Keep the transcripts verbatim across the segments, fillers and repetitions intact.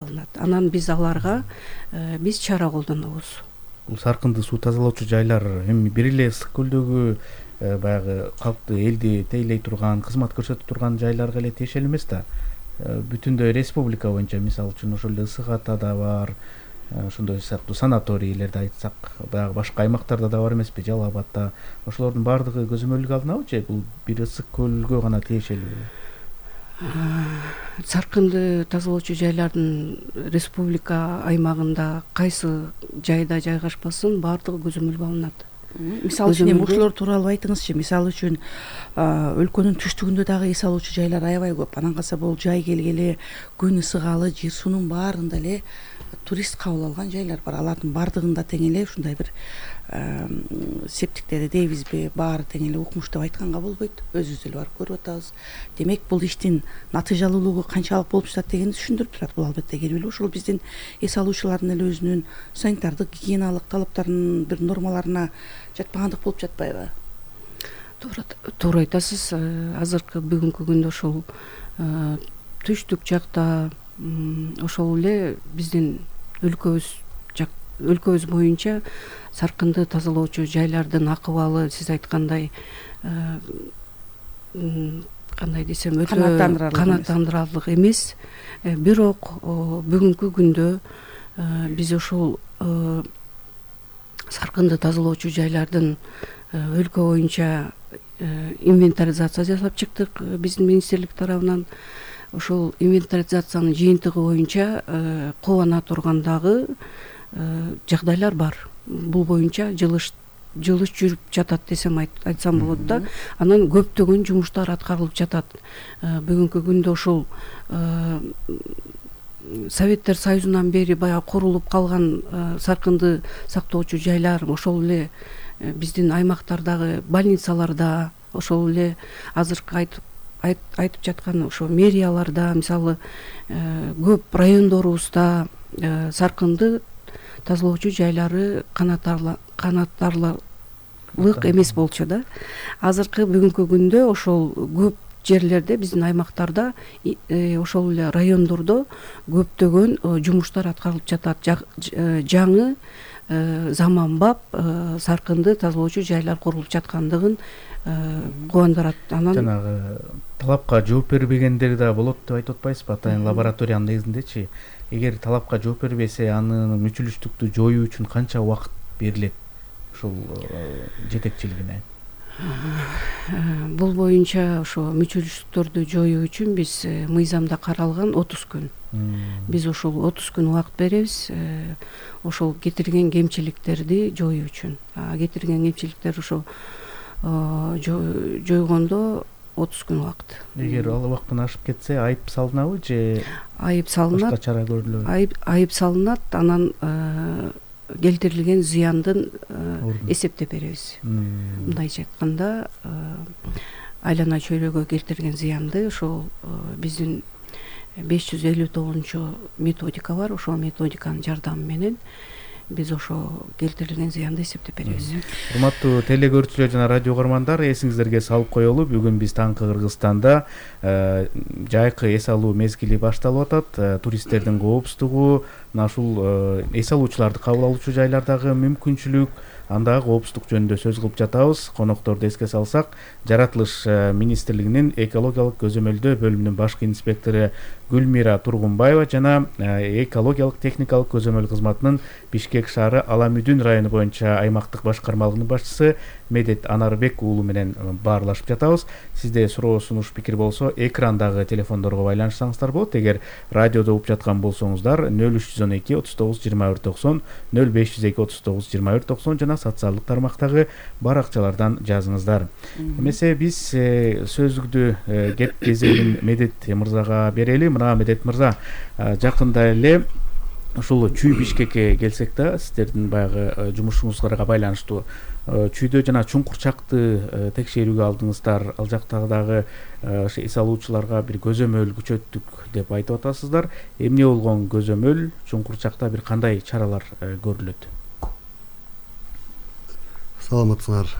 алынат. Анан биз аларга биз чара колдонобуз. Бул саркынды суу тазалоочу жайлар эми бир эле ысык көлдөгү баягы калкты, элди тейлей турган, кызмат көрсөтүп турган жайларга эле тиешелүү эмес да. Бүтүндөй республика боюнча мисалы үчүн ошол эле Ысык Атада бар, ошондой сыяктуу санаторийлерди айтсак, баягы башка аймактарда да бар эмеспи, Жалал Абадда. Ошолордун баардыгы көзөмөлгө алынабы же бул бир ысык көлгө гана тиешелүү? Саркынды тазалоочу жайлардын республика аймагында кайсы жайда жайгашпасын баардыгы көзөмөлгө алынат. Мисалы үчүн эми ушулор тууралуу айтыңызчы. Мисалы үчүн өлкөнүн түштүгүндө дагы эс алуучу жайлар аябай көп. Анан калса бул жай келгеле күн ысыгалы жер суунун баарында эле турист кабыл алган жайлар бар. Алардын баардыгында тең эле ушундай бир септиктери дейбизби, баары тең эле укмуш деп айтканга болбойт. Өзүбүз деле барып көрүп атабыз. Демек бул иштин натыйжалуулугу канчалык болуп жатат дегенди түшүндүрүп турат. Бул албетте келбелүү. Ошол биздин эс алуучулардын эле өзүнүн санитардык, гигиеналык талаптарынын бир нормаларына жатпагандык болуп жатпайбы? Туура, туура айтасыз. Азыркы бүгүнкү күндө ошол түштүк жакта ошол эле биздин өлкөбүз өлкөбүз боюнча саркынды тазалоочу жайлардын акыбалы сиз айткандай кандай десем өтө канааттандырарлык эмес. Бирок бүгүнкү күндө биз ошол саркынды тазалоочу жайлардын өлкө боюнча инвентаризация жасап чыктык биздин министрлик тарабынан. Ошол инвентаризациянын жыйынтыгы боюнча кубана тургандагы жагдайлар бар. Бул боюнча жылыш жылыш жүрүп жатат десем айтсам болот да. Анан көптөгөн жумуштар аткарылып жатат. Бүгүнкү күндө ошол Советтер Союзунан бери баягы курулуп калган саркынды сактоочу жайлар ошол эле биздин аймактардагы больницаларда, ошол эле азыркы айтып айтып жаткан ошо мэрияларда, мисалы көп райондорубузда саркынды тазалоочу жайлары канааттарлык эмес болчу да. Азыркы бүгүнкү күндө ошол көп жерлерде биздин аймактарда ошол эле райондордо көптөгөн жумуштар аткарылып жатат. Жаңы заманбап саркынды тазалоочу жайлар курулуп жаткандыгын кубандырат. Анан жанагы талапка жооп бербегендер да болот деп айтып атпайсызбы? Атайын лабораториянын негизиндечи, эгер талапка жооп бербесе, анын мүчүлүштүктү жоюу үчүн канча убакыт берилет ушул жетекчилигине? Бул боюнча ошо мүчүлүштүктөрдү жоюу үчүн биз мыйзамда каралган отуз күн. Биз ошол отуз күн убакыт беребиз ошол кетирген кемчиликтерди жоюу үчүн. Кетирген кемчиликтер ошо жойгондо отуз күн убакыт. Эгер ал убакыттан ашып кетсе, айып салынабы же айып салынат? Башка чара көрүлөбү? Айып айып салынат, анан келтирилген зыяндын эсептеп беребиз. Мындайча айтканда, айлана чөйрөгө келтирген зыянды ошол биздин беш жүз элүү тогузунчу методика бар. Ошол методиканын жардамы менен биз ошо келтирилген зыянды эсептеп беребиз. Урматтуу теле көрүүчүлөр жана радио угармандар, эсиңиздерге салып коелу, бүгүн биз таңкы Кыргызстанда жайкы эс алуу мезгили башталып атат. Туристтердин коопсуздугу, мына ушул эс алуучуларды кабыл алуучу жайлардагы мүмкүнчүлүк, андагы коопсуздук жөнүндө сөз кылып жатабыз. Конокторду эске салсак, Жаратылыш министрлигинин экологиялык көзөмөлдөө бөлүмүнүн башкы инспектору Гүлмира Тургунбаева жана экологиялык техникалык көзөмөл кызматынын Бишкек шаары Аламүдүн району боюнча аймактык башкармалыгынын башчысы Медет Анарбек уулу менен баарлашып жатабыз. Сизде суроо, сунуш, пикир болсо, экрандагы телефондорго байланышсаңыздар болот. Эгер радиодо угуп жаткан болсоңуздар, нөл үч жүз он эки отуз тогуз жыйырма бир токсон, нөл беш жүз эки отуз тогуз жыйырма бир токсон жана социалдык тармактагы баракчалардан жазыңыздар. Эмесе биз сөзүгдү кеп кезегин Медет мырзага берели. Мына Медет мырза, жакында эле ушул Чүй Бишкекке келсек да, сиздердин баягы жумушуңузга байланыштуу Чүйдө жана Чуңкурчакты текшерүүгө алдыңыздар. Ал жактагы эс алуучуларга бир көзөмөл күчөттүк деп айтып атасыздар. Эмне болгон көзөмөл? Чуңкурчакта бир кандай чаралар көрүлөт? Саламатсыңар.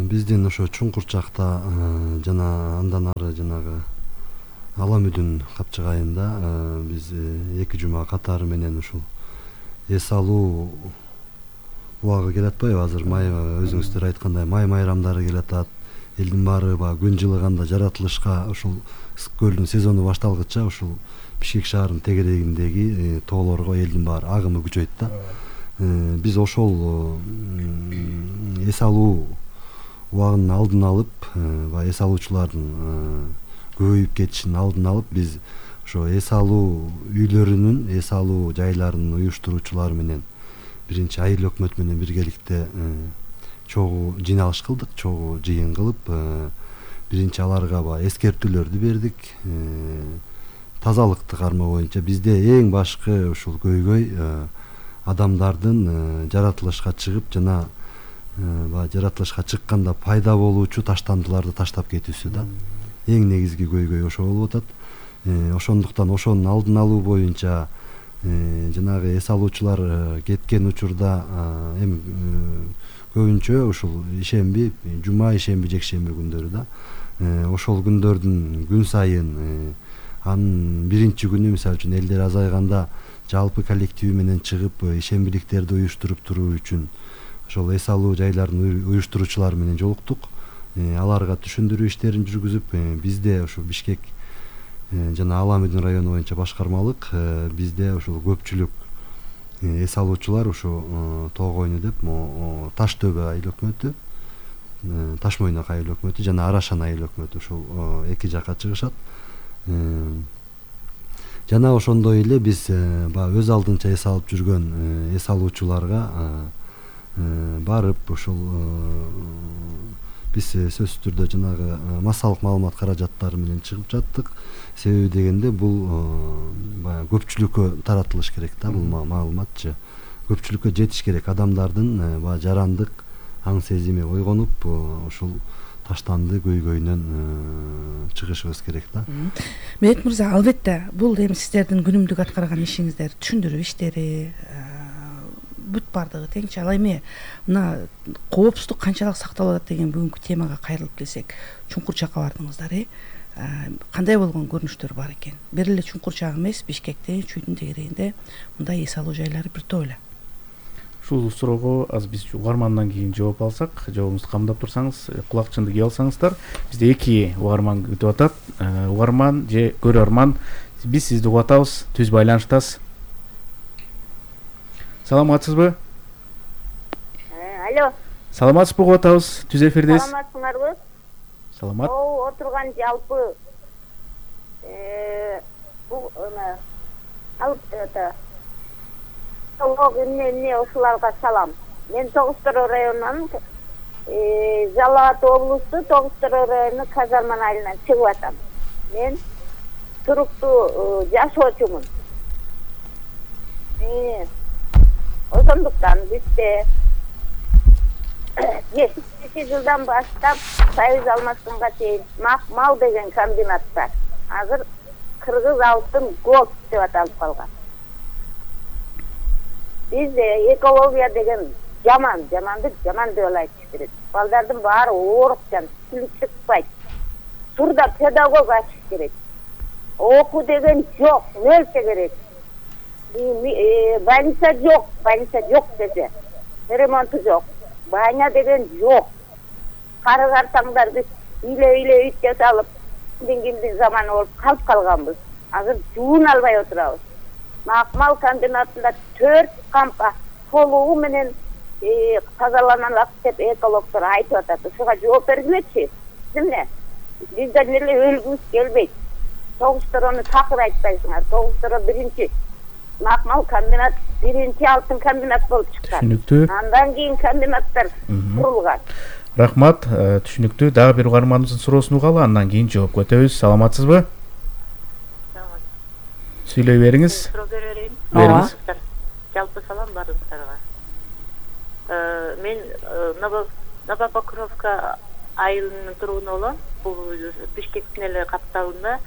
биздин ошо Чуңкурчакта жана андан ары жанагы Ала Мүдүн капчыгайында биз эки жума катары менен ушул эс алуу убагы келатпайбы? Азыр май өзүңүздөр айткандай май майрамдары келатат. Элдин баары баягы күн жылыганда жаратылышка ушул ысык көлдүн сезону башталгыча ушул Бишкек шаарынын тегерегиндеги тоолорго элдин баары агымы күчөйт да. Биз ошол эс алуу убагынын алдын алып, баягы эс алуучулардын көбөйүп кетишинин алдын алып, биз ошо эс алуу үйлөрүнүн, эс алуу жайларынын уюштуруучулары менен биринчи айыл өкмөт менен биргеликте чогуу жыйналыш кылдык, чогуу жыйын кылып, биринчи аларга баягы эскертүүлөрдү бердик. Тазалыкты кармоо боюнча бизде эң башкы ушул көйгөй адамдардын жаратылышка чыгып жана баягы жаратылышка чыкканда пайда болуучу таштандыларды таштап кетүүсү да. Эң негизги көйгөй ошо болуп атат. Ошондуктан ошонун алдын алуу боюнча жанагы эс алуучулар кеткен учурда эми көбүнчө ушул ишемби, жума, ишемби, жекшемби күндөрү да. Ошол күндөрдүн күн сайын анын биринчи күнү мисалы үчүн элдер азайганда жалпы коллективи менен чыгып ишембиликтерди уюштуруп туруу үчүн ошол эс алуу жайлардын уюштуруучулары менен жолуктук. Аларга түшүндүрүү иштерин жүргүзүп, бизде ушул Бишкек жана Ала Мүдүн району боюнча башкармалык бизде ушул көпчүлүк эс алуучулар ушу Тоогойну деп Таш Төбө айыл өкмөтү, Таш Мойнок айыл өкмөтү жана Арашан айыл өкмөтү ушул эки жакка чыгышат. Жана ошондой эле биз баягы өз алдынча эс алып жүргөн эс алуучуларга барып ушул биз сөзсүз түрдө жанагы массалык маалымат каражаттары менен чыгып жаттык. Себеби дегенде бул баягы көпчүлүккө таратылыш керек да, бул маалыматчы. Көпчүлүккө жетиш керек. Адамдардын баягы жарандык аң сезими ойгонуп, ушул таштанды көйгөйүнөн чыгышыбыз керек да. Мехмет мырза, албетте бул эми сиздердин күнүмдүк аткарган ишиңиздер, түшүндүрүү иштери, бүт бардыгы теңчи. Ал эми мына коопсуздук канчалык сакталып атат деген бүгүнкү темага кайрылып келсек, Чуңкурчакка бардыңыздар, кандай болгон көрүнүштөр бар экен? Бир эле Чуңкурчак эмес, Бишкекте, Чүйдүн тегерегинде мындай эс алуу жайлары бир топ эле. Ушул суроого аз биз угармандан кийин жооп алсак, жообуңузду камдап турсаңыз, кулакчынды кийип алсаңыздар. Бизде эки угарман күтүп атат. Угарман же көрөрман, биз сизди угуп атабыз, түз байланыштасыз. Саламатсызбы? Алло. Саламатсызбы, угуп атабыз, түз эфирдесиз. Саламатсыңарбы? Саламат. О, отурган жалпы э бу ана алып это Тоог эмне ушуларга салам. Мен Тогуз-Тороо районунан э Жалал Абад облусту Тогуз-Тороо району Казарман айылынан чыгып атам. Мен туруктуу жашоочумун. Э ошондуктан бизде жетимиш жылдан баштап Союз алмашканга чейин Макмал деген комбинат бар. Азыр Кыргыз алтын голд деп аталып калган. Бизде экология деген жаман, жаманды жаман деп айтыш керек. Балдардын баары оорукчан, тили чыкпайт. Турда педагог ачыш керек. Окуу деген жок, нерсе керек. Больница жок, больница жок десе, ремонту жок. Баня деген жок. Кары картаңдар биз үйлө-үйлө үй жасалып, кимдин заманы болуп калып калганбыз. Азыр жуун албай отурабыз. Макмал комбинатында төрт кампа толугу менен тазаланат деп экологдор айтып атат. Ушуга жооп бергилечи. Эмне? Бизден эле өлгүбүз келбейт. Тогуз-Torоону такыр айтпайсыңар. Тогуз-Torоо биринчи Макмал комбинат биринчи алтын комбинат болуп чыккан. Түшүнүктүү. Андан кийин комбинаттар курулган. Рахмат, түшүнүктүү. Дагы бир угарманыбыздын суроосун угалы, андан кийин жооп көтөбүз. Саламатсызбы? Сүйлөй бериңиз. Суроо берейин. Бериңиз. Жалпы салам баарыңыздарга. Мен Новопокровка айылынын тургуну болом. Бул Бишкектин эле капталында.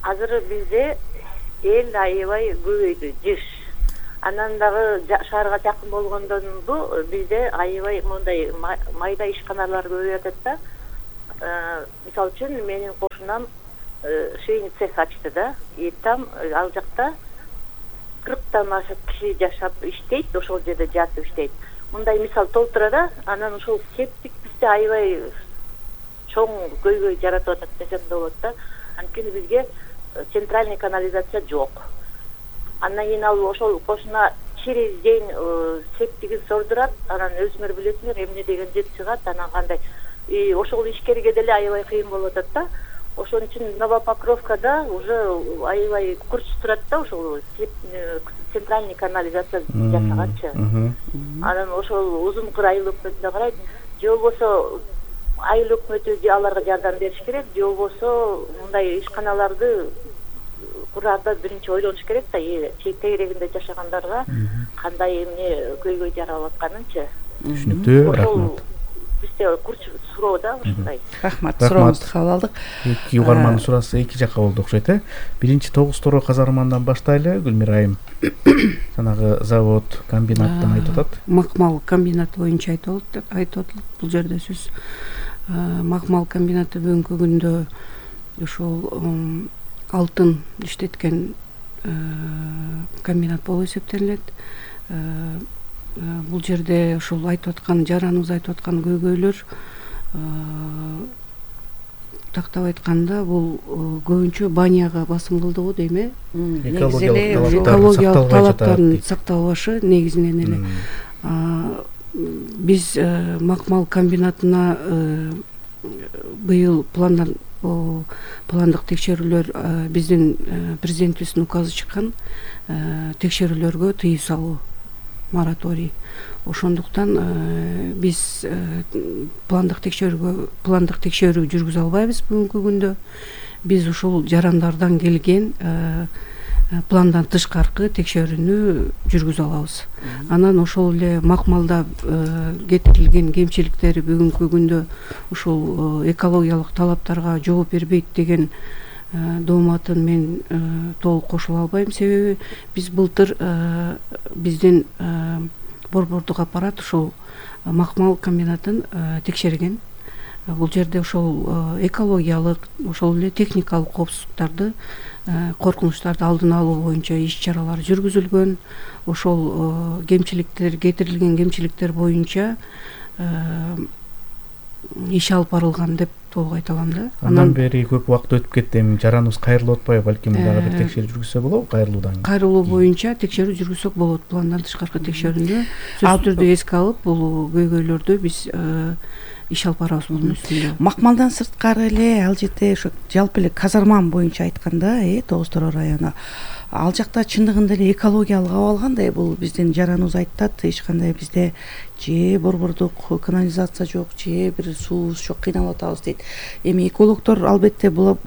Азыр бизде эл аябай көбөйдү, жыш. Анан дагы шаарга жакын болгондонбу бизде аябай мындай майда ишканалар көбөйүп атат да. Мисалы үчүн менин кошунам швейный цех ачты да. И там ал жакта кырктан ашык киши жашап иштейт, ошол жерде жатып иштейт. Мындай мисал толтура да, анан ошол септик бизде аябай чоң көйгөй жаратып атат десем да болот да. Анткени бизге центральный канализация жок. Андан кийин ал ошол кошуна через день септигин сордурат, анан өзүңөр билесиңер эмне деген жет чыгат, анан кандай. И ошол ишкерге деле аябай кыйын болуп атат да. Ошон үчүн Новопокровкада уже аябай курч турат да, ошол центральный канализация жасаганчы. Анан ошол узункур айыл өкмөтүнө карайт, же болбосо айыл өкмөтү аларга жардам бериш керек, же болбосо мындай ишканаларды курарда биринчи ойлонуш керек да, тегерегинде жашагандарга кандай эмне көйгөй жаралып атканынчы. Түшүнүктүү, рахмат. Бизде курч суроо да ушундай. Рахмат, сурооңузду кабыл алдык. Эки угармандын суроосу эки жакка болду окшойт э. Биринчи тогуз тороо казармандан баштайлы, Гүлмира айым. Жанагы завод, комбинаттан айтып атат. Макмал комбинаты боюнча айтып атат. Бул жерде сөз макмал комбинаты бүгүнкү күндө ошол алтын иштеткен комбинат болуп эсептелет. Бул жерде ошол айтып аткан, жараныбыз айтып аткан көйгөйлөр тактап айтканда бул көбүнчө баняга басым кылды го дейм э. Экологиялык талаптардын сакталбашы негизинен эле. Биз макмал комбинатына быйыл пландан пландык текшерүүлөр, биздин президентибиздин указы чыккан, текшерүүлөргө тыюу салуу мораторий. Ошондуктан биз пландык текшерүүгө пландык текшерүү жүргүзө албайбыз бүгүнкү күндө. Биз ушул жарандардан келген пландан тышкаркы текшерүүнү жүргүзө алабыз. Анан ошол эле макмалда кетирилген кемчиликтери бүгүнкү күндө ушул экологиялык талаптарга жооп бербейт деген дооматын мен толук кошула албайм. Себеби биз былтыр биздин борбордук аппарат ушул макмал комбинатын текшерген. Бул жерде ошол экологиялык, ошол эле техникалык коопсуздуктарды, коркунучтарды алдын алуу боюнча иш чаралар жүргүзүлгөн. Ошол кемчиликтер, кетирилген кемчиликтер боюнча иш алып барылган деп толук айта алам да. Андан бери көп убакыт өтүп кетти, эми жараныбыз кайрылып атпайбы, балким дагы бир текшерүү жүргүзсө болобу кайрылуудан кийин? Кайрылуу боюнча текшерүү жүргүзсөк болот. Пландан тышкаркы текшерүүнү сөзсүз түрдө эске алып, бул көйгөйлөрдү биз иш алып барабыз бунун үстүндө. Макмалдан сырткары эле ал жерде ошо жалпы эле казарман боюнча айтканда, э тогуз тороо району, ал жакта чындыгында эле экологиялык абал кандай? Бул биздин жараныбыз айтат, эч кандай бизде же борбордук канализация жок, же бир суубуз жок, кыйналып атабыз дейт. Эми экологдор албетте бул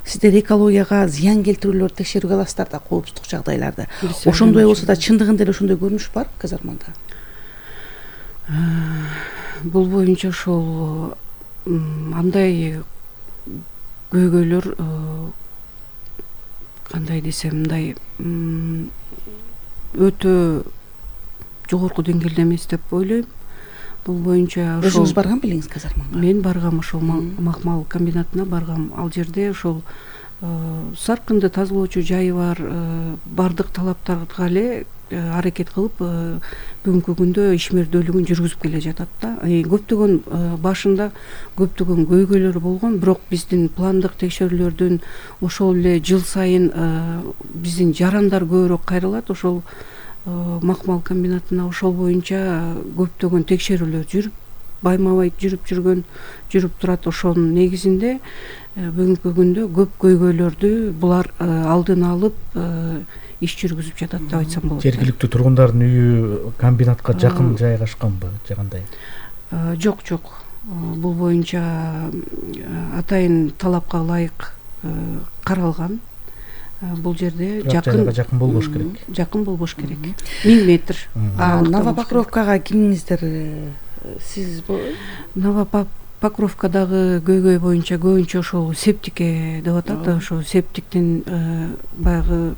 сиздер экологияга зыян келтирүүлөрдү текшерүүгө аласыздар да, коопсуздук жагдайларды. Ошондой болсо да чындыгында эле ошондой көрүнүш бар казарманда. Бул боюнча ошол андай көйгөйлөр кандай десем, мындай өтө жогорку деңгээлде эмес деп ойлойм. Бул боюнча ошол өзүңүз барган белеңиз казармага? Мен баргам, ошол макмал комбинатына баргам. Ал жерде ошол саркынды тазалоочу жайы бар, бардык талаптарга эле аракет кылып бүгүнкү күндө ишмердүүлүгүн жүргүзүп келе жатат да. Көптөгөн башында көптөгөн көйгөйлөр болгон, бирок биздин пландык текшерүүлөрдүн ошол эле жыл сайын биздин жарандар көбүрөөк кайрылат. Ошол макмал комбинатына ошол боюнча көптөгөн текшерүүлөр жүрүп, байма-бай жүрүп жүргөн, жүрүп турат. Ошонун негизинде бүгүнкү күндө көп көйгөйлөрдү булар алдын алып иш жүргүзүп жатат деп айтсам болот. Жергиликтүү тургундардын үйү комбинатка жакын жайгашканбы, же кандай? Жок, жок. Бул боюнча атайын талапка ылайык каралган. Бул жерде жакын жакын болбош керек. Жакын болбош керек. миң метр. Новопокровкага кимиңиздер сиз? Новопокровкадагы көйгөй боюнча көбүнчө ошол септикке деп атат. Ошо септиктин баягы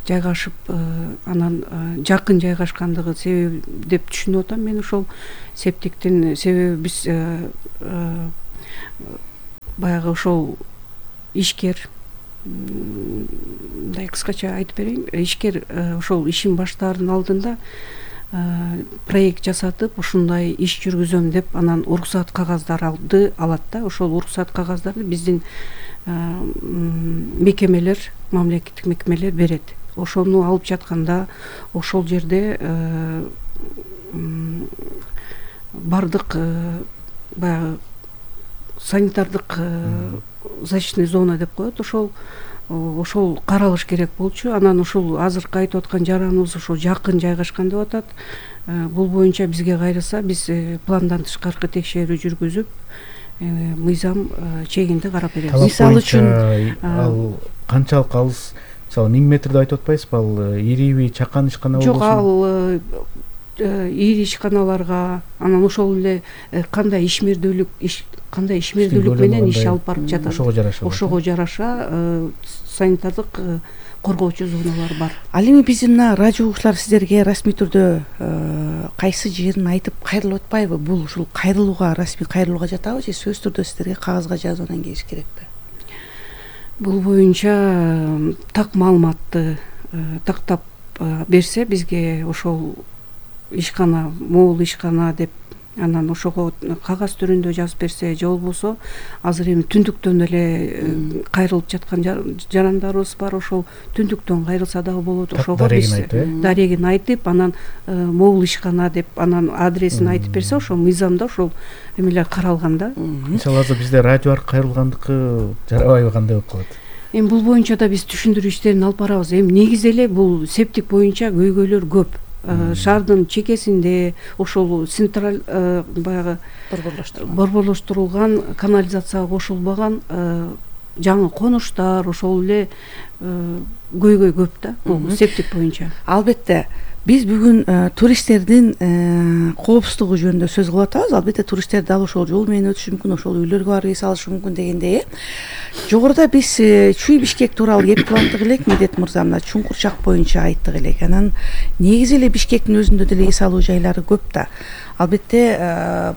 жайгашып анан жакын жайгашкандыгы себеби деп түшүнүп атам мен ошол септиктин себеби биз баягы ошол ишкер мындай кыскача айтып берейин, ишкер ошол ишин баштаардын алдында проект жасатып ушундай иш жүргүзөм деп анан уруксат кагаздарды алат да. Ошол уруксат кагаздарды биздин мекемелер, мамлекеттик мекемелер берет. Ошону алып жатканда ошол жерде бардык баягы санитардык защитный зона деп коет, ошол ошол каралыш керек болчу. Анан ушул азыркы айтып аткан жараныбыз ошол жакын жайгашкан деп атат. Бул боюнча бизге кайрылса биз пландан тышкаркы текшерүү жүргүзүп мыйзам чегинде карап беребиз. Мисалы үчүн ал канчалык алыс, мисалы миң метрди айтып атпайсызбы, ал ириби чакан ишкана болбосун? Жок, ал ири ишканаларга анан ошол эле кандай ишмердүүлүк кандай ишмердүүлүк менен иш алып барып жатат, ошого жараша ошого жараша санитардык коргоочу зоналар бар. Ал эми биздин мына радио угуучулар сиздерге расмий түрдө кайсы жерин айтып кайрылып атпайбы? Бул ушул кайрылууга, расмий кайрылууга жатабы же сөз түрдө сиздерге кагазга жазып анан келиш керекпи? Бул боюнча так маалыматты тактап берсе бизге ошол ишкана, могул ишкана деп анан ошого кагаз түрүндө жазып берсе же болбосо азыр эми түндүктөн эле кайрылып жаткан жарандарыбыз бар, ошол түндүктөн кайрылса дагы болот. Ошого биз дарегин айтып анан могул ишкана деп анан адресин айтып берсе ошол мыйзамда ошол эмелер каралган да. Мисалы азыр бизде радио аркылуу кайрылгандыкы жарабайбы, кандай болуп калат? Эми бул боюнча да биз түшүндүрүү иштерин алып барабыз. Эми негизи эле бул септик боюнча көйгөйлөр көп. Шаардын чекесинде ошол централь баягы борборлоштурулган канализацияга кошулбаган жаңы конуштар, ошол эле көйгөй көп да бул септик боюнча. Албетте биз бүгүн туристтердин коопсуздугу жөнүндө сөз кылып атабыз. Албетте туристтер дал ошол жол менен өтүшү мүмкүн, ошол үйлөргө барып эс алышы мүмкүн дегендей. Жогоруда биз Чүй Бишкек тууралуу кеп кылаттык элек, Медет мырза мына Чуңкурчак боюнча айттык элек. Анан негизи эле Бишкектин өзүндө деле эс алуу жайлары көп да. Албетте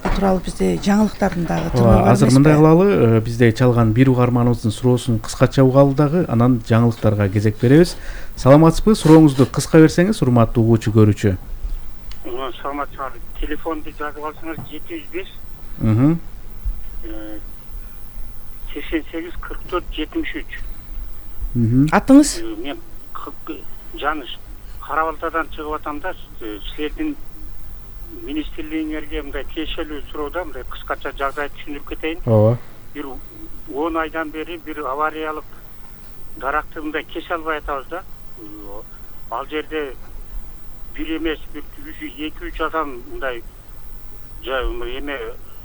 бул тууралуу бизде жаңылыктардын дагы тырмагы бар. Азыр мындай кылалы, бизде чалган бир угарманыбыздын суроосун кыскача угалы дагы, анан жаңылыктарга кезек беребиз. Саламатсызбы? Сурооңузду кыска берсеңиз, урматтуу угуучу көрүүчү. Саламатсызбы? Телефонду жазып алсаңыз жети жүз беш сексен сегиз кырк төрт жетимиш үч. Атыңыз? Мен Жаныш Кара Балтадан чыгып атам да, силердин министрлигиңерге мындай тиешелүү суроода мындай кыскача жагдай түшүндүрүп кетейин. Ооба. Бир он айдан бери бир авариялык даракты мындай кесе албай атабыз да. Ал жерде бир эмес, бир эки үч адам мындай эме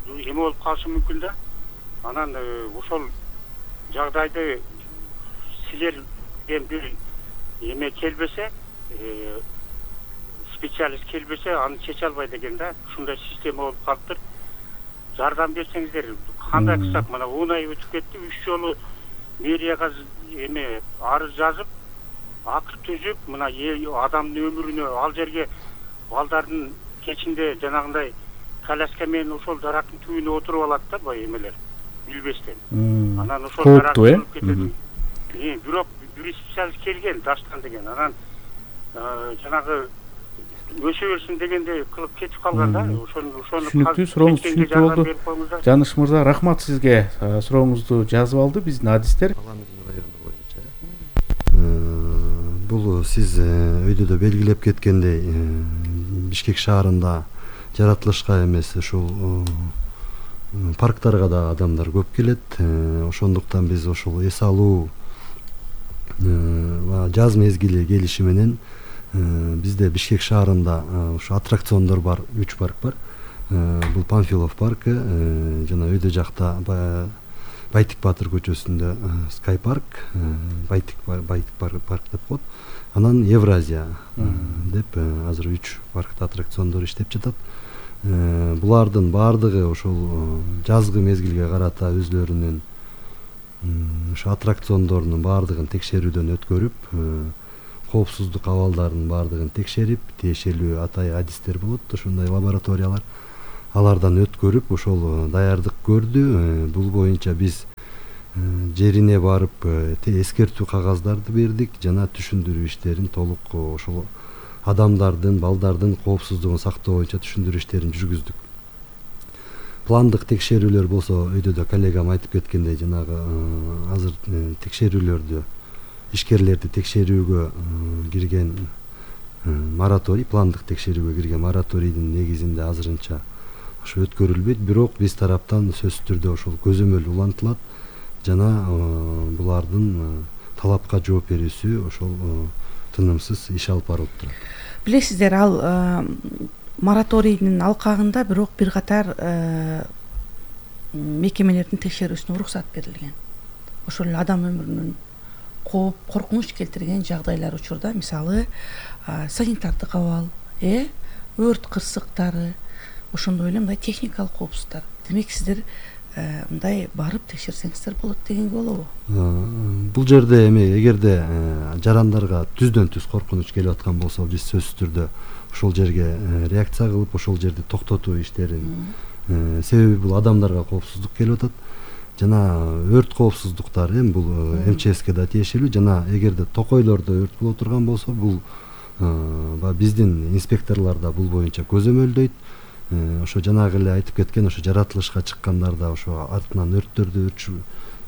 эме болуп калышы мүмкүн да. Анан ошол жагдайды силерден бир эме келбесе, специалист келбесе, аны чече албайт экен да. Ушундай система болуп калыптыр. Жардам берсеңиздер, кандай кылсак, мына он ай өтүп кетти, үч жолу мэрияга эме арыз жазып, акт түзүп, мына адамдын өмүрүнө, ал жерге балдардын кечинде жанагындай коляска менен ошол дарактын түбүнө отуруп алат да бай эмелер, билбестен. Анан ошол даракты алып кетет. Бирок бир специалист келген, Даштан деген. Анан жанагы өсө берсин дегенде кылып кетип калган да. Ошону ошону түшүнүктүү, сурооңуз түшүнүктүү болду. Жаныш мырза, рахмат сизге. Сурооңузду жазып алды биздин адистер. Бул сиз өйдө белгилеп кеткендей, Бишкек шаарында жаратылышка эмес, ушул парктарга да адамдар көп келет. Ошондуктан биз ошол эс алуу жаз мезгили келиши менен бизде Бишкек шаарында ушу аттракциондор бар, үч парк бар. Бул Панфилов паркы, жана өйдө жакта Байтик Батыр көчөсүндө Sky парк, Байтик Байтик парк деп коет. Анан Евразия деп азыр үч паркта аттракциондор иштеп жатат. Булардын баардыгы ошол жазгы мезгилге карата өзлөрүнүн ошо аттракциондордун баардыгын текшерүүдөн өткөрүп, коопсуздук абалдарынын баардыгын текшерип, тиешелүү атайын адистер болот, ошондой лабораториялар, алардан өткөрүп ошол даярдык көрдү. Бул боюнча биз жерине барып эскертүү кагаздарды бердик жана түшүндүрүү иштерин толук ошол адамдардын, балдардын коопсуздугун сактоо боюнча түшүндүрүү иштерин жүргүздүк. Пландык текшерүүлөр болсо өйдө да коллегам айтып кеткендей, жанагы азыр текшерүүлөрдү, ишкерлерди текшерүүгө кирген мораторий, пландык текшерүүгө кирген мораторийдин негизинде азырынча ошо өткөрүлбөйт, бирок биз тараптан сөзсүз түрдө ошол көзөмөл улантылат жана булардын талапка жооп берүүсү ошол тынымсыз иш алып барылып турат. Билесиздер, ал мораторийдин алкагында бирок бир катар мекемелердин текшерүүсүнө уруксат берилген. Ошол эле адам өмүрүнүн кооп, коркунуч келтирген жагдайлар учурда, мисалы санитардык абал, э өрт кырсыктары, ошондой эле мындай техникалык коопсуздуктар. Демек сиздер мындай барып текшерсеңиздер болот дегенге болобу? Бул жерде эми эгерде жарандарга түздөн түз коркунуч келип аткан болсо, биз сөзсүз түрдө ошол жерге реакция кылып, ошол жерди токтотуу иштерин, себеби бул адамдарга коопсуздук келип атат. Жана өрт коопсуздуктары эми бул эм че эске да тиешелүү, жана эгерде токойлордо өрт боло турган болсо, бул биздин инспекторлор да бул боюнча көзөмөлдөйт. Ошо жанагы эле айтып кеткен, ошо жаратылышка чыккандарда ошо артынан өрттөрдү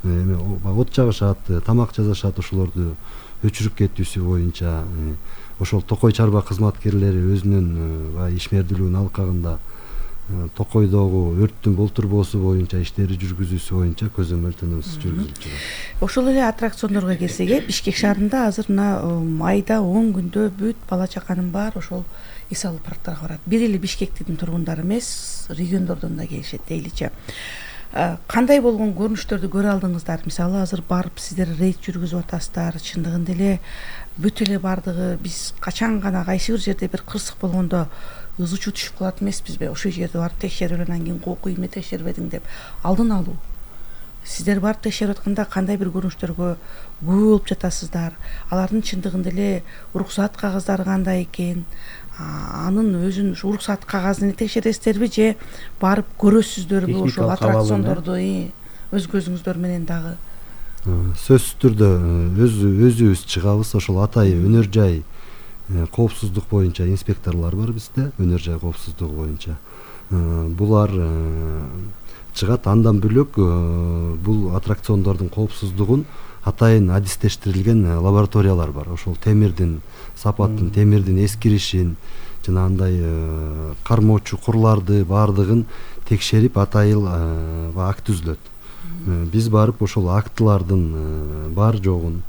эми от жагышат, тамак жасашат, ошолорду өчүрүп кетүүсү боюнча ошол токой чарба кызматкерлери өзүнүн ишмердүүлүгүнүн алкагында токойдогу өрттүн болтурбоосу боюнча иштери жүргүзүүсү боюнча көзөмөл тынымсыз жүргүзүлүп жатат. Ошол эле аттракциондорго келсек, Бишкек шаарында азыр мына айда он күндө бүт бала чаканын баары ошол эс алуу парктарга барат. Бир эле Бишкектин тургундары эмес, региондордон да келишет дейличи. Кандай болгон көрүнүштөрдү көрө алдыңыздар? Мисалы, азыр барып сиздер рейд жүргүзүп атасыздар. Чындыгында эле бүт эле бардыгы биз качан гана кайсы бир жерде бир кырсык болгондо ыз учуу түшүп калат эмеспизби? Ошол жерде барып текшерип анан кийин кооку эмне текшербедиң деп алдын алуу. Сиздер барып текшерип атканда кандай бир көрүнүштөргө күбө болуп жатасыздар? Алардын чындыгында эле уруксат кагаздары кандай экен? Анын өзүн ушу уруксат кагазын текшересиздерби же барып көрөсүздөрбү ошол аттракциондорду өз көзүңүздөр менен дагы? Сөзсүз түрдө өзүбүз чыгабыз. Ошол атайын өнөр жай коопсуздук боюнча инспекторлор бар бизде, өнөр жай коопсуздугу боюнча. Булар чыгат. Андан бөлөк бул аттракциондордун коопсуздугун атайын адистештирилген лабораториялар бар. Ошол темирдин сапатын, темирдин эскиришин жана андай кармоо чукурларды баардыгын текшерип атайын акт түзүлөт. Биз барып ошол актылардын бар жогун,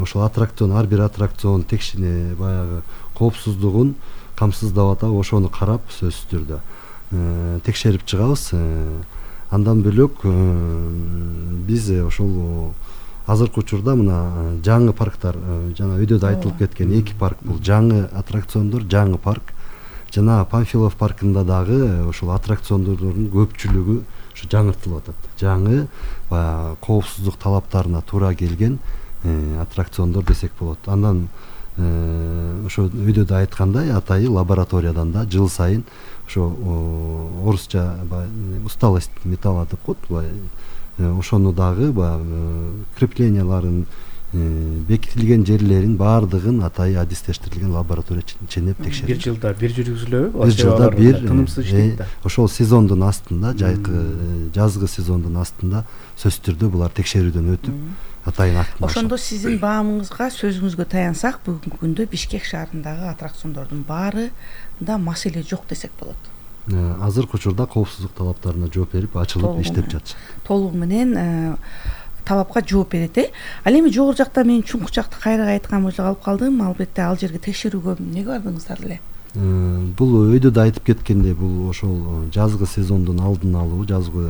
ошол аттракцион, ар бир аттракцион текшине баягы коопсуздугун камсыздап атабы, ошону карап сөзсүз түрдө текшерип чыгабыз. Андан бөлөк биз ошол азыркы учурда мына жаңы парктар, жана өйдө да айтылып кеткен эки парк, бул жаңы аттракциондор, жаңы парк жана Панфилов паркында дагы ошол аттракциондордун көпчүлүгү ушу жаңыртылып атат. Жаңы баягы коопсуздук талаптарына туура келген аттракциондор десек болот. Андан ошо өйдө да айткандай атайын лабораториядан да жыл сайын ошо орусча усталость металла деп коет, ошону дагы баягы крепленияларын, бекитилген жерлерин баардыгын атайын адистештирилген лаборатория ченеп текшерип. Бир жылда бир жүргүзүлөбү? Бир жылда бир тынымсыз иштейт да. Ошол сезондун астында, жайкы жазгы сезондун астында сөзсүз түрдө булар текшерүүдөн өтүп атайын акт. Ошондо сиздин баамыңызга, сөзүңүзгө таяnsак, бүгүнкү күндө Бишкек шаарындагы аттракциондордун баарында маселе жок десек болот. Азыркы учурда коопсуздук талаптарына жооп берип, ачылып иштеп жатышат. Толугу менен талапка жооп берет. Ал эми жогору жакта мен чуңку жакты кайрыга айткан болчу калып калдым. Албетте ал жерге текшерүүгө эмнеге бардыңыздар эле? Бул өйдө да айтып кеткендей, бул ошол жазгы сезондун алдын алуу, жазгы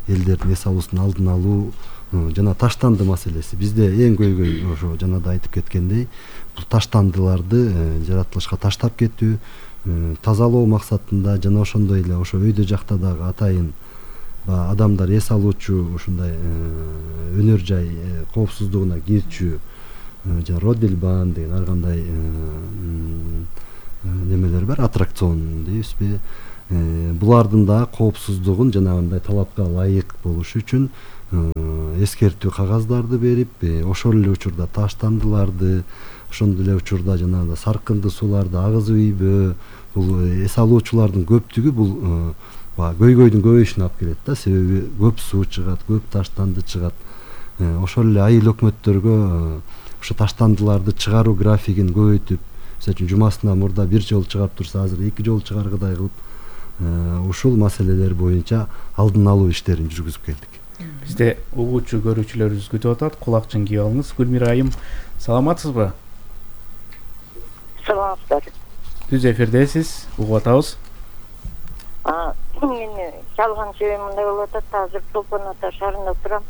элдердин эс алуусунун алдын алуу жана таштанды маселеси. Бизде эң көйгөй ошо жана да айтып кеткендей, бул таштандыларды жаратылышка таштап кетүү, тазалоо максатында жана ошондой эле ошо өйдө жакта дагы атайын адамдар эс алуучу ушундай өнөр жай коопсуздугуна кирчү жана Родельбан деген ар кандай немелер бар, аттракцион дейбизби, булардын да коопсуздугун жанагындай талапка ылайык болуш үчүн эскертүү кагаздарды берип, ошол эле учурда таштандыларды, ошондой эле учурда жанагындай саркынды сууларды агызып ийбөө, бул эс алуучулардын көптүгү бул баягы көйгөйдүн көбөйүшүнө алып келет да, себеби көп суу чыгат, көп таштанды чыгат. Ошол эле айыл өкмөттөргө ошо таштандыларды чыгаруу графигин көбөйтүп, мисалы үчүн жумасына мурда бир жолу чыгарып турса, азыр эки жолу чыгаргыдай кылып, ушул маселелер боюнча алдын алуу иштерин жүргүзүп келдик. Бизде угуучу көрүүчүлөрүбүз күтүп атат. Кулакчын кийип алыңыз. Гүлмира айым, саламатсызбы? Саламатсыздар. Түз эфирдесиз, угуп атабыз. Мен чалган себебим мындай болуп атат. Азыр Чолпон Ата шаарында турам.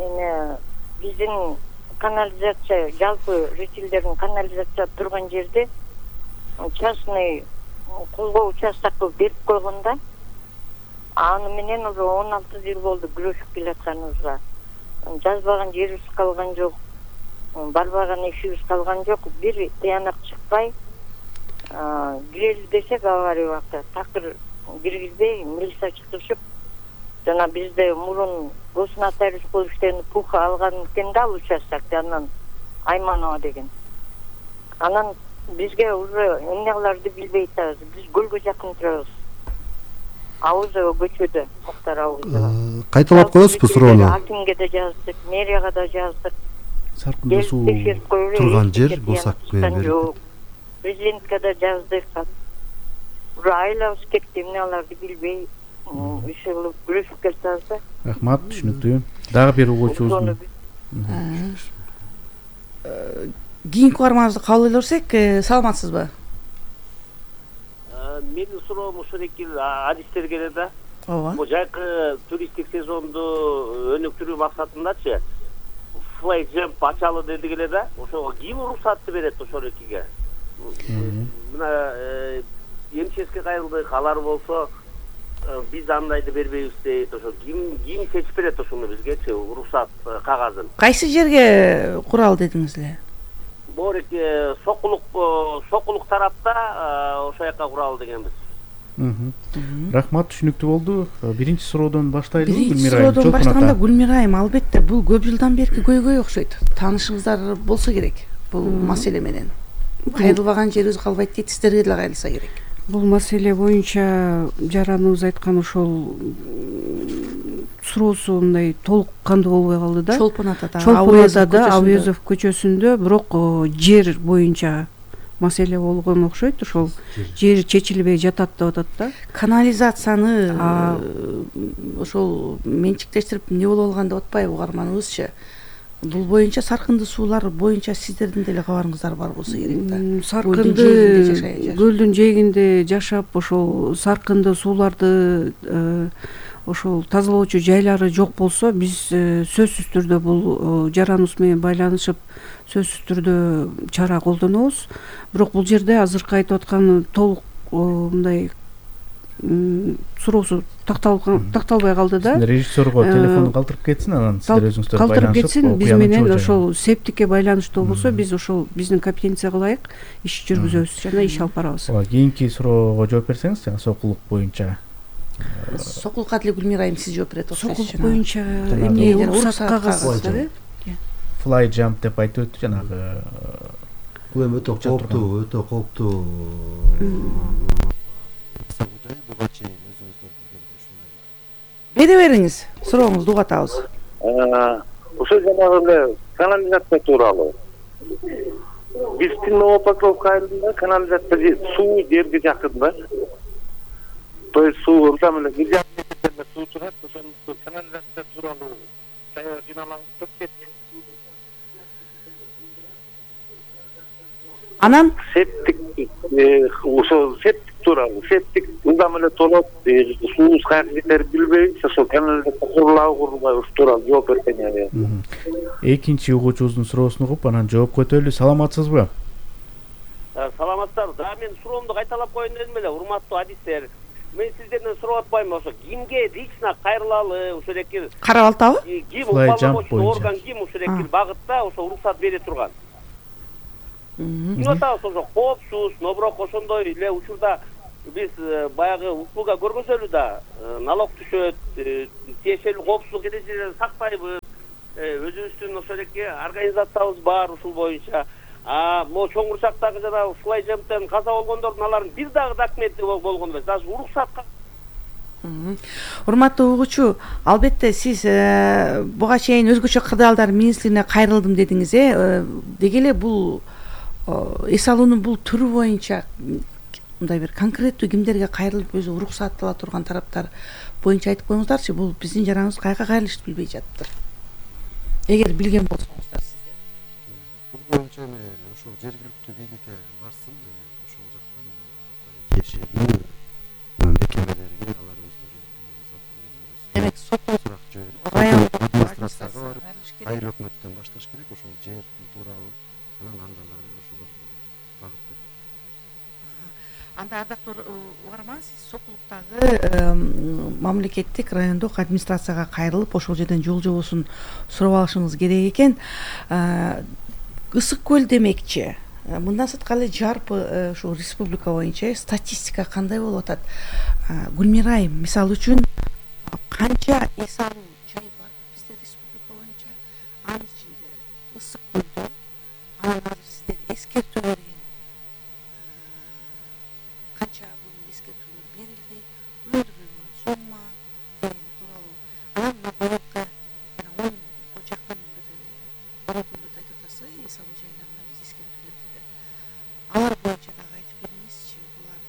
Эми биздин канализация, жалпы жителдердин канализация турган жерде частный колго участок берип койгонда, аны менен уже он алты жыл болду күрөшүп келатканыбызга. Жазбаган жерибиз калган жок, барбаган ишибиз калган жок. Бир тыянак чыкпай кирели десек авария убакта такыр киргизбей милиция чакырышып, жана бизде мурун госнотариус болуп иштеген Пуха алган экен да ал участокты, анан Айманова деген. Анан бизге уже эмнелерди билбей атабыз. Биз көлгө жакын турабыз. Аузова көчөдө, Муктар Аузова. Кайталап коесузбу суроону? Акимге да жаздык, мэрияга да жаздык. Саркынды суу турган жер болсак жок. Президентке да жаздык. Уже айлабыз кетти, эмнелерди билбей, иши күрөшүп келатабыз да. Рахмат, түшүнүктүү. Дагы бир угуучубуз. Кийинки угарманыбызды кабыл эле көрсөк, саламатсызбы? Менин суроом ушул эки адистерге эле да. Ооба. Бул жайкы туристтик сезонду өнүктүрүү максатындачы Fly Jump ачалы дедик эле да. Ошого ким уруксатты берет ошол экиге? Мына эмческе кайрылдык, алар болсо биз андайды бербейбиз дейт. Ошо ким ким чечип берет ошону бизгечи уруксат кагазын? Кайсы жерге курал дедиңиз эле? Борик Сокулук Сокулук тарапта ошол жака куралы дегенбиз. Рахмат, түшүнүктүү болду. Биринчи суроодон баштайлы. Биринчи суроодон баштаганда Гүлмира айым, албетте бул көп жылдан берки көйгөй окшойт. Таанышыңыздар болсо керек бул маселе менен. Кайрылбаган жерибиз калбайт дейт, сиздерге деле кайрылса керек. Бул маселе боюнча жараныбыз айткан ошол суроосу мындай толук кандуу болбой калды да. Чолпон Атада, Чолпон Атада, Авезов көчөсүндө, бирок жер боюнча маселе болгон окшойт. Ошол жер чечилбей жатат деп атат да. Канализацияны ошол менчиктештирип эмне болуп калган деп атпайбы угарманыбызчы? Бул боюнча саркынды суулар боюнча сиздердин деле кабарыңыздар бар болсо керек да. Саркынды көлдүн жээгинде жашап, ошол саркынды сууларды ошол тазалоочу жайлары жок болсо, биз сөзсүз түрдө бул жараныбыз менен байланышып сөзсүз түрдө чара колдонобуз. Бирок бул жерде азыркы айтып аткан толук мындай суроосу такталбай калды да. Режиссерго телефону калтырып кетсин, анан сиздер өзүңүздөр байланышып, калтырып кетсин, биз менен ошол септикке байланыштуу болсо, биз ошол биздин компетенцияга ылайык иш жүргүзөбүз жана иш алып барабыз. Ооба, кийинки суроого жооп берсеңиз, жана Сокулук боюнча. Сокулукка деле Гүлмира айым сиз жооп берет окшойт. Сокулук боюнча эмне уруксат кагазы? Fly Jump деп айтып өттү жанагы. Бул эми өтө кооптуу, өтө кооптуу. Бере бериңиз, сурооңузду угуп атабыз. Ошо жанагы эле канализация тууралуу. Биздин Новопокровка айылында канализация суу жерге жакын да. То есть суу ортам эле бир жарым метрден суу турат, ошондо канализация тууралуу сая жиналаңып кетти. Анан септик ошо септик тууралуу, септик ылдам эле толот, суубуз каяка кетерин билбейбиз, ошо канализация курулабы курулбайбы ушул тууралуу жооп берсеңер. Экинчи угуучубуздун суроосун угуп, анан жоопко өтөлү. Саламатсызбы? Саламатсыздар. Да, мен суроомду кайталап коеюн дедим эле, урматтуу адистер. мен сиздерден сурап атпаймынбы, ошо кимге лично кайрылалы, ошол эки карап алтабы? Ким уполномоченный орган ким ошол эки багытта ошо уруксат бере турган. Эмне атабыз ошо коопсуз, нобурок ошондой эле учурда биз баягы услуга көргөзөлү да, налог түшөт, тиешелүү коопсуздук эрежелерин сактайбыз. Өзүбүздүн ошол эки организациябыз бар ушул боюнча. А могу чоң Курчактагы жана Флай Жемптен каза болгондордун алардын бир дагы документи болгон эмес. Даже уруксатка. Урматтуу угуучу, албетте сиз буга чейин өзгөчө кырдаалдар министрлигине кайрылдым дедиңиз, э? Деги эле бул эс алуунун бул түрү боюнча мындай бир конкреттүү кимдерге кайрылып өзү уруксат ала турган тараптар боюнча айтып коюңуздарчы. Бул биздин жараныбыз кайга кайрылышты билбей жатыптыр. Эгер билген болсоңуздар сиздер. Бул боюнча эми ошол жергиликтүү бийликке барсын, ошол жактан тиешелүү мекемелерге алар өздөрү демек сотко сурак жөнөтүп, райондук администрацияга барып, айыл өкмөттөн башташ керек ошол жер тууралуу, андан ары ошолор багыт берет. Анда ардактуу угарман, сиз Сокулуктагы мамлекеттик райондук администрацияга кайрылып, ошол жерден жол жобосун сурап алышыңыз керек экен. Ысык көл демекчи. Мындан сырткары жарпы ушул республика боюнча статистика кандай болуп атат? Гүлмира айым, мисалы үчүн канча эс алуу жай бар бизде республика боюнча? Анын ичинде ысык көлдө анан азыр сиздер эскертүү берген канча бул эскертүүлөр берилди, өндүрүлгөн сумма деген тууралуу. Анан быйылкы он жакын бир көрүнүктү айтып атасыз, эс алуу жайларына биз эскертүү бердик деп. Алар боюнча дагы айтып бериңизчи, булар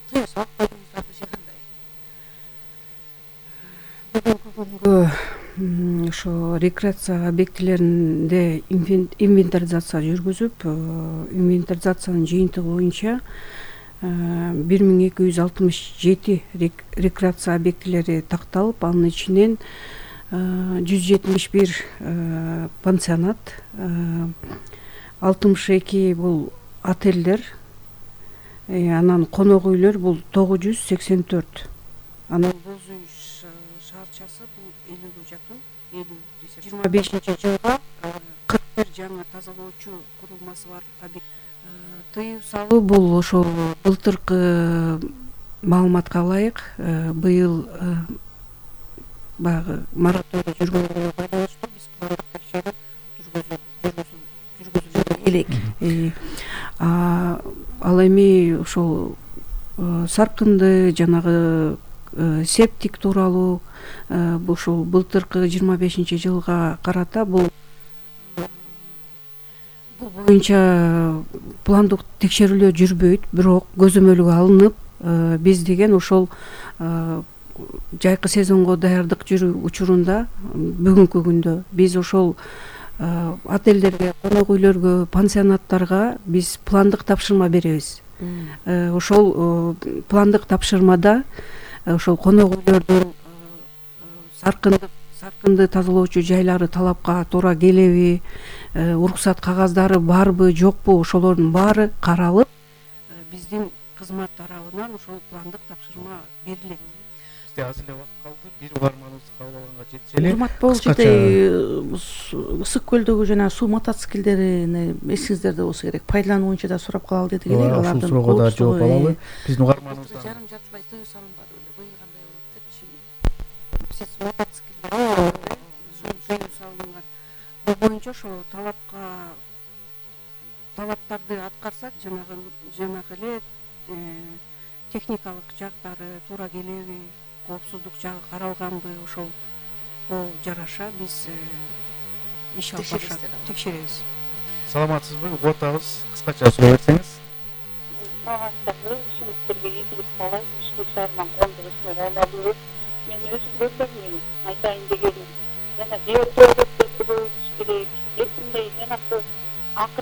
тыюу салып койдуңуздарбы же кандай? Бүгүнкү күнгө ошо рекреация объектилеринде инвентаризация жүргүзүп, инвентаризациянын жыйынтыгы боюнча бир миң эки жүз алтымыш жети рекреация объектилери такталып, анын ичинен жүз жетимиш бир пансионат, алтымыш эки бул отелдер, анан конок үйлөр бул тогуз жүз сексен төрт. Анан боз үй шаарчасы бул элүүгө жакын, элүү десек жыйырма бешинчи жылга кырк бир жаңы тазалоочу курулмасы бар объект. Тыюу салуу бул ошол былтыркы маалыматка ылайык, быйыл баягы мораторий жүргөнгөнгө байланыштуу биз пландык текшерүү жүргүзүп элек. Ал эми ошол саркынды жанагы септик тууралуу ушул былтыркы жыйырма бешинчи жылга карата бул бул боюнча пландык текшерүүлөр жүрбөйт, бирок көзөмөлгө алынып, биз деген ошол жайкы сезонго даярдык жүрүү учурунда бүгүнкү күндө биз ошол отелдерге, конок үйлөргө, пансионаттарга биз пландык тапшырма беребиз. Ошол пландык тапшырмада ошол конок үйлөрдүн саркынды саркынды тазалоочу жайлары талапка туура келеби, уруксат кагаздары барбы, жокпу, ошолордун баары каралып, биздин кызмат тарабынан ошол пландык тапшырма берилет. Бизде аз эле убакыт калды. Бир угарманыбызды кабыл алганга жетише эле. Урматтуу бул жерде ысык көлдөгү жана суу мотоциклдерини эсиңиздерде болсо керек, пайдалануу боюнча да сурап калалы дедик эле. Алардын ушул суроого да жооп алалы. Биздин угарманыбыздан жарым жартылай тыюу салынбады эле, быйыл кандай болот депчи. Сиз мотоциклдер тыюу салынган. Бул боюнча ошо талапка талаптарды аткарсак, жанагы жанагы эле техникалык жактары туура келеби, коопсуздук жагы каралганбы, ошолго жараша биз иш алып барышат, текшеребиз. Саламатсызбы? Угуп атабыз. Кыскача суроо берсеңиз. Саламатсызбы? Сиздерге ийгилик каалайм. Бишкек шаарынан Кондук Исмер Аймагулов. Мен өзүм көрдүм, айтайын дегеним. Жана биотоалеттер көбөйтүш керек. Эсимде жанакы акыркы